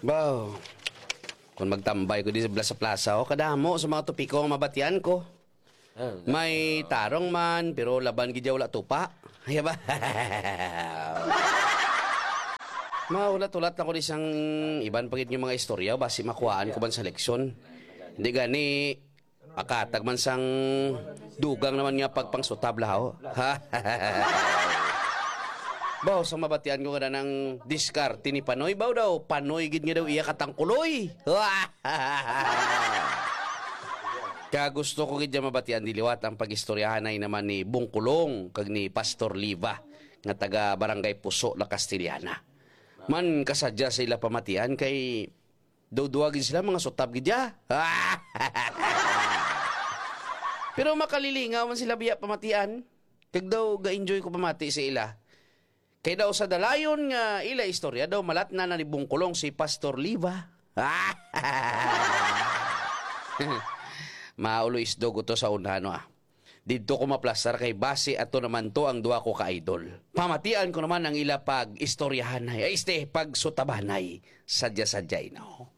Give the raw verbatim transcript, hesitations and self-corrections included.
Baw, kung magtambay ko di sa plaza-plaza, oh, kadamo sa mga topiko nga mabatian ko. Ah, may tarong man, pero laban gid ya wala tupa. Ay ba? Mahulat-hulat na ko di sang iban pa gid nga mga istorya, basi makuhaan ko man sa leksyon. Hindi gani, pakatag man sang dugang naman nga pagpangsutab laho. Ha? Baw, sa mabatian ko nga nang diskarte ni Panoy, baw daw, Panoy gid nga daw iya katangkuloy. Ka gusto ko gid nga mabatian di liwat ang pag-istoryahanay naman ni Bungkulong kag ni Pastor Liva nga taga Barangay Puso, La Castellana. Man kasadya sa ila pamatian kay daw duwa gid sila mga sutab gid ya. Pero makalilingaw man sila biya pamatian. Kag daw ga-enjoy ko pamati sa ila. Kay daw sa dalayon nga ila istorya daw malatna na ni Bungkulong si Pastor Liva. Maulo isdog to sa una, no, ah. Didto ko maplastar kay basi ato naman to ang duha ko ka idol. Pamatian ko naman ang ila pag-istoryahanay, ay, este, pagsutabanay. Sadya-sadya, no?